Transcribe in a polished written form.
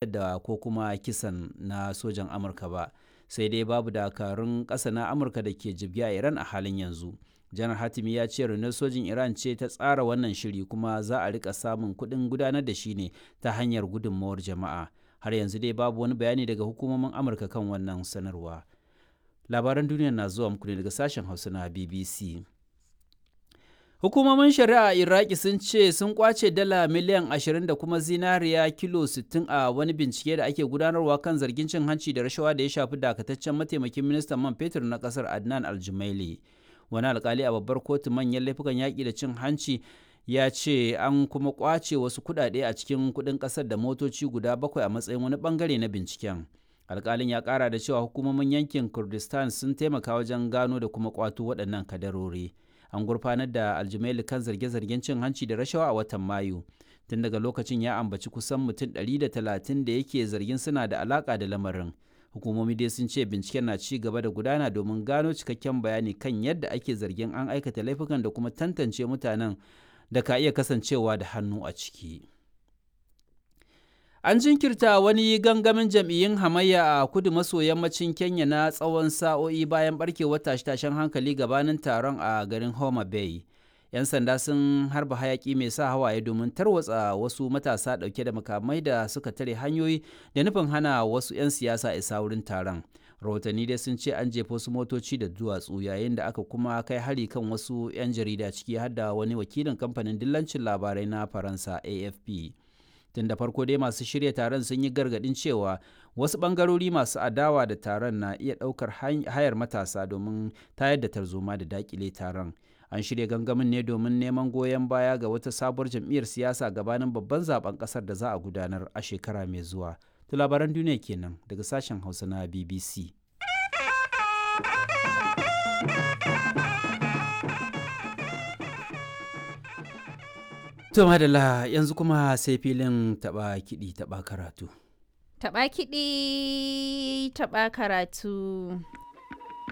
Da ko kuma kisan na sojan Amurka ba, sai dai babu dakarun ƙasa na Amurka da ke jibge a Iran a halin yanzu. Janar Hatimi ya ce rundunar sojin Iran ce ta tsara wannan shiri kuma za a rika samun kuɗin gudanar da shi ne ta hanyar gudunmawar jama'a. Har yanzu dai babu wani bayani daga hukumomin Amurka kan wannan sanarwa. Labaran duniya na zuwa muku ne daga sashen Hausa na BBC. Hukumomin shari'a a Iraki sun ce sun kwace dala miliyan 20 da kuma zinariya kilo 60 a wani bincike da ake gudanarwa kan zargin cin hanci da rashawa da ya shafi dakataccen mataimakin ministan man fetur na kasar Adnan Aljumaili. Wani alkali a babbar kotu manyan laifukan yaƙi da cin hanci ya ce an kuma kwace wasu kuɗaɗe a cikin kuɗin ƙasar da motoci guda bakwai a matsayin wani bangare na binciken. Alkalin ya ƙara da cewa hukumomin yankin Kurdistan sun taimaka wajen gano da kuma kwato waɗannan kadarori. An gurfanar da Aljumaili kan zarge-zargen cin hanci da rashawa a watan Mayu. Tun daga lokacin ya ambaci kusan mutum 130 da yake zargin suna da alaka da lamarin. Hukumomi dai sun ce binciken na ci gaba da gudana domin gano cikakken bayani kan yadda ake zargin an aikata laifukan da kuma tantance mutanen da ka iya kasancewa da hannu a ciki. An jinkirta wani gangamin jam'iyyun hamayya a kudu maso yammacin Kenya na tsawon sa'o'i bayan barkewar tashe-tashen hankali gabanin taron a garin Homa Bay. 'Yan sanda sun harba hayaki mai sa hawaye domin tarwatsa wasu matasa ɗauke da makamai da suka tare hanyoyi da nufin hana wasu 'yan siyasa isa wurin taron. Rahotanni dai sun ce an jefa wasu motoci da duwatsu yayin da aka kuma kai hari kan wasu 'yan jarida, ciki har da wani wakilin kamfanin dillancin labarai na Faransa AFP. Tun da farko dai masu shirya taron sun yi gargadin cewa wasu bangarori masu adawa da taron na iya ɗaukar hayar matasa domin tayar da tarzoma da dakile taron. An shirya gangamin ne domin neman goyon baya ga wata sabuwar jam'iyyar siyasa gabanin babban zaben kasar da za a gudanar a shekara mai zuwa. To, labaran duniya kenan daga sashen Hausa na BBC. To madalla, yanzu kuma sai filin taɓa kiɗi taɓa karatu. Taɓa kiɗi, taɓa karatu.